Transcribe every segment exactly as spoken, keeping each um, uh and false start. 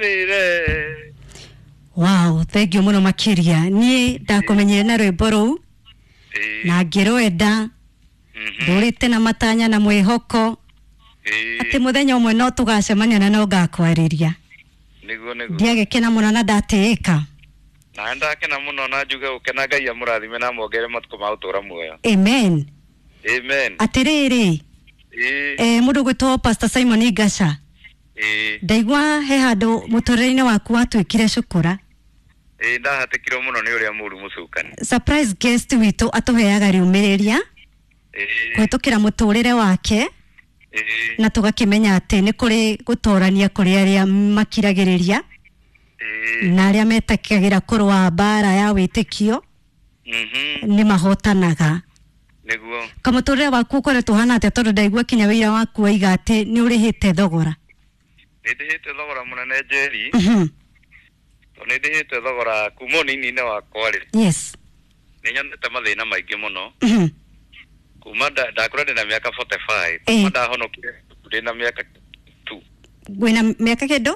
Rĩre. Wow, thank you muno makiria. Niĩ ndakũmenyire na rwĩmbo rũu Ĩĩ. na ngĩrwenda. Mhm. Ndũrĩte na matanya na mwĩhoko Ĩĩ. atĩ mũthenya ũmwe no tũgacemania na no ngakwarĩria. Nĩguo nĩguo. Ndiagĩkena mũno na ndatĩĩka. Na ndakena mũno na njuge gũkena. Ngai amũrathime na amwongerere matukũ ma gũtũra muoyo. Amen. Amen. Atĩrĩrĩ, Ĩĩ. eh, mũndũ gwĩtwo Pastor Simon Ngaca, Ĩĩ. ndaigua he handũ mũtũrĩre-inĩ waku watuĩkire cukura. Ĩĩ, ndahatĩkirwo mũno nĩ ũrĩa mũru, mũcukani. Surprise guest witũ atũheaga riumĩrĩria Ĩĩ. kũhĩtũkĩra mũtũrĩre wake, Ĩĩ. na tũgakĩmenya atĩ nĩ kũrĩ gũtorania kũrĩ arĩa makiragĩrĩria Ĩĩ. na arĩa metĩkagĩra kũrũa mbara ya wĩtĩkio Mhm. nĩ mahotanaga. Nĩguo. Kamũtũrĩre waku ũkoretwo ũhana atĩa? Tondũ ndaigua kinya wĩira waku waiga atĩ nĩ ũrĩhĩte thogora. Nĩ ndĩhĩte thogora mũnene, Njeri. Mhm. Tondũ nĩ ndĩhĩte thogora kuma ũnini-inĩ wakwa rĩ, yes nĩ nyonete mathĩna maingĩ mũno. Mhm. Kuma nda- ndakũra ndĩna mĩaka mĩrongo ĩna na ĩtano, Eh. kuma ndahonokire ndĩna mĩaka two. Wĩna mĩaka kĩndũ?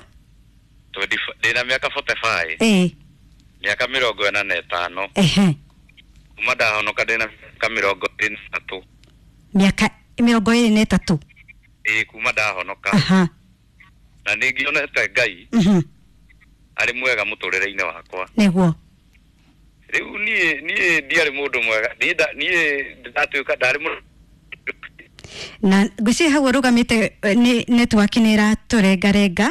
twenty, ndĩna mĩaka mĩrongo ĩna na ĩtano. Ĩĩ. Mĩaka mĩrongo ĩna na ĩtano. Ehe. Kuma ndahonoka ndĩna mĩaka mĩrongo ĩrĩ na ĩtatũ. Mĩaka mĩrongo ĩrĩ na ĩtatũ? Ĩĩ, kuma ndahonoka. Aha. Na nĩ ngĩonete Ngai Mhm. arĩ mwega mũtũrĩre-inĩ wakwa. Nĩguo. Rĩu niĩ niĩ ndiarĩ mũndũ mwega. Niĩ nda- niĩ ndatuĩka ndarĩ mũndũ. Na ngwĩciria hau ũrũgamĩte, eh, nĩ network nĩ ĩratũrengarenga.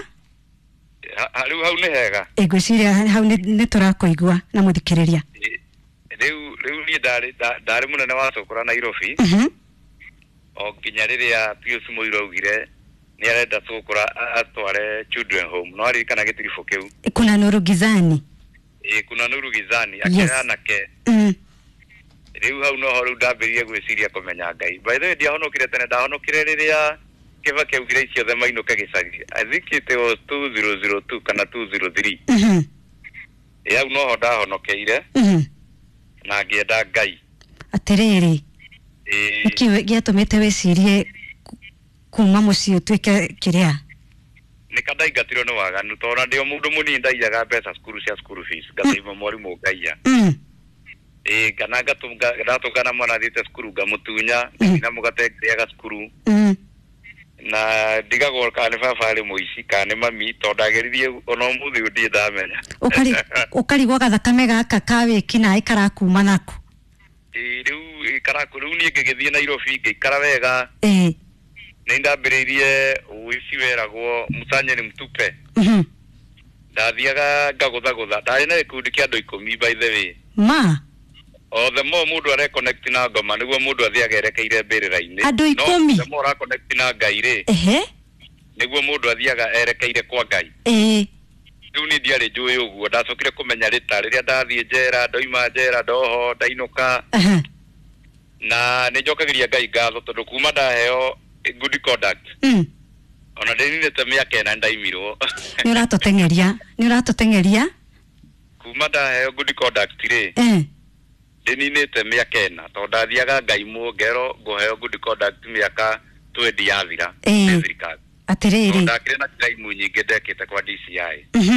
Ha- ha- rĩu hau nĩ hega? Ĩ, ngwĩciria hau nĩ nĩ tũrakũigua na mũthikĩrĩria. Ĩ, rĩu rĩu niĩ ndarĩ nda- ndarĩ mũnene wa cũkũra Nairobi, Mhm. o nginya rĩrĩa Pius Mũirũ augire nĩ arenda cũkũra a- atware children home. No aririkana gĩtiribũ kĩu? Kuna nuru gizani. Ĩ, kuna nuru gizani. Yes. Akĩoya anake. mm. Rĩu hau noho rĩu ndambĩrĩrie gwĩciria kũmenya Ngai. By the way, ndiahonokire tene, ndahonokire rĩrĩa Kĩbaki augire ici othe mainũke gĩcagi. I think it was two thousand two kana two thousand three. Mhm. Ĩ, hau noho ndahonokeire Mhm. na ngĩenda Ngai. Atĩrĩrĩ, Ĩ. nĩkĩ gĩatũmĩte wĩcirie ku- kuma mũciĩ ũtuĩke kĩrĩa? Nĩ ka ndaingatirwo nĩ waganu, tondũ ona ndĩ o mũndũ mũnini ndaiyaga mbeca cukuru cia school fees, ngateima mwarimũ ngaiya. mm. Ĩ, kana ngatũnga- ndatũngana mwana athiĩte cukuru ngamũtunya, ngathiĩ na mũgate ngĩrĩaga cukuru, Mm. na ndigagwo kana nĩ baba arĩ mũici kana nĩ mami, tondũ ndageririe ona ũmũthĩ ũyũ ndirĩ ndamenya. Ũkari- ũkarigwo gathakame gaka ka wĩki naĩ karakuma naku. Ĩ, rĩu ĩ, karaku rĩu niĩ ngĩgĩthiĩ Nairobi ngĩikara wega. Ĩ. Nĩ ndambĩrĩirie ũici weragwo msanye ni mtupe. Mhm. Ndathiaga ngagũthagũtha, ndarĩ na gĩkundi kĩa andũ ikũmi, by the way. Ma. O the more mũndũ areconnect na ngoma, nĩguo mũndũ athiaga erekeire mbĩrĩra-inĩ. Andũ ikũmi? No the more ũraconnect na Ngai rĩ, Ehe. nĩguo mũndũ athiaga erekeire kwa Ngai. Ĩ. Rĩu niĩ ndiarĩ njũĩ ũguo, ndacokire kũmenya rĩta rĩrĩa ndathiĩ njera, ndoima njera, ndoho, ndainũka. Aha. Na nĩ njokagĩria Ngai ngatho tondũ kuma ndaheo good conduct, Mm. ona ndĩninĩte mĩaka ĩna ndaimirwo. Nĩ ũratũteng'eria, nĩ ũratũteng'eria. Kuma ndaheo good conduct rĩ, Eh. ndĩninĩte mĩaka ĩna, tondũ ndathiaga ngaimwo ngero ngũheo good conduct mĩaka twenty yathira Ĩĩ. nĩ thirikari. Atĩrĩrĩ. Tondũ ndakĩrĩ na crime nyingĩ ndekĩte kwa D C I. Mhm.